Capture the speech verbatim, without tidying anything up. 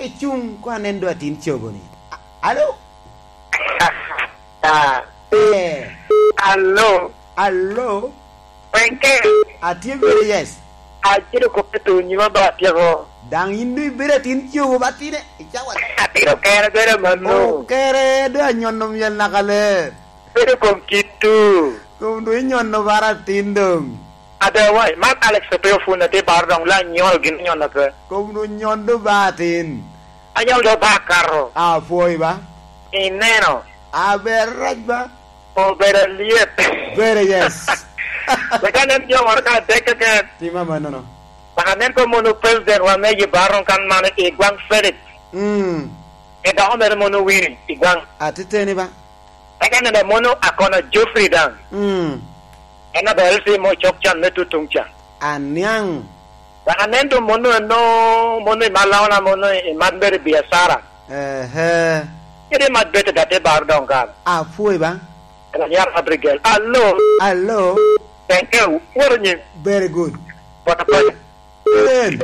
Icuŋ ko anen do atin cogo ni. A-, alo? Ah. Eh. Alo. Alo. Wenke. Atye very yes. Aciro kop i tu nyima ba atyeko. Daŋ in do ibedo atin cogo ba tine, icawa. Atino kere bedo mano. Okere do anyono myel naka ler. Bedo kom kit tu. Kom do inyono bara atin doŋ. Otherwise, man Alex Opeyo Fun atye baro doŋ la nyol gin nyon ape. Kom do nyon do ba atin. Anyol do ba akato. Apwoyi ba. Ineno. Aber rac ba. Obedo alyet. Very yes. Wek anen jo moro ka adek keken. Tim amannono. Wek anen ko mono president wa me Yibaron kan man i gwaŋ Felix. Mm. Edoko mere mono Winnie i gwaŋ. Atiteni ba. Eka nene mono akono Geoffrey daŋ. Mm. En abe L C mo cok can me tutuŋ ca. Aniaŋ. Wek anen doŋ mono eno, mono i Malaona, mono i Madberi biacara. Ehe. Kede Madbete da te bar doŋ kara. Apwoyi ba. En anyar Abigail. Alo. Alo. Thank you. Woro nyin. Very good. Pota pota. Amen.